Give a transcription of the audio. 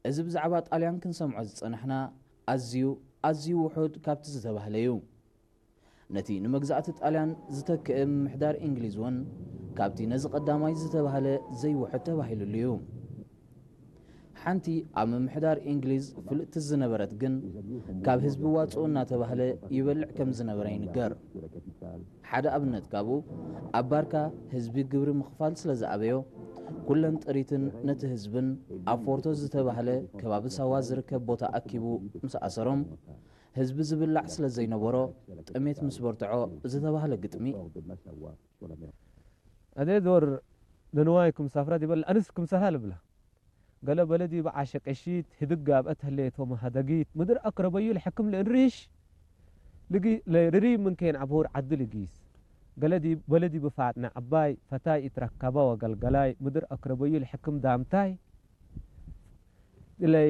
እዚ ብዛዕባ ጣልያን ክንሰምዖ ዝጸናሕና ኣዝዩ ኣዝዩ ውሑድ ካብቲ ዝተባህለ እዩ። ነቲ ንመግዛእቲ ጣልያን ዝተክእ ምምሕዳር እንግሊዝ እውን ካብቲ ነዚ ቀዳማይ ዝተባህለ ዘይውሑድ ተባሂሉሉ እዩ። ሓንቲ ኣብ ምምሕዳር እንግሊዝ ፍልጥቲ ዝነበረት ግን ካብ ህዝቢ ዋጽኡ እናተባህለ ይበልዕ ከም ዝነበረ ይንገር። ሓደ ኣብነት ካብኡ ኣብ ባርካ ህዝቢ ግብሪ ምኽፋል ስለ ዝኣበዮ ኩለን ጥሪትን ነቲ ህዝብን ኣብ ፎርቶ ዝተባህለ ከባቢ ሳዋ ዝርከብ ቦታ ኣኪቡ ምስ ኣሰሮም ህዝቢ ዝብላዕ ስለ ዘይነበሮ ጥሜት ምስ በርትዖ ዝተባህለ ግጥሚ። ኣደ ዶር ንንዋይኩም ሳፍራ ዲበል ኣንስኩም ሰፋ ልብላ ገለ በለዲ ብዓሸ ቀሺት ህድግ ኣብአት ህሌቶ መሃደጊት ምድር አክረበዩ ለሐክም ለእንሪሽ ልጊ ለርሪ ምንከን አብሁር ዓዲ ልጊስ ገለዲ በለዲ ብፋጥነ ዓባይ ፈታይ ኢትረከባ ወገልገላይ ምድር አክረበዩ ለሐክም ዳምታይ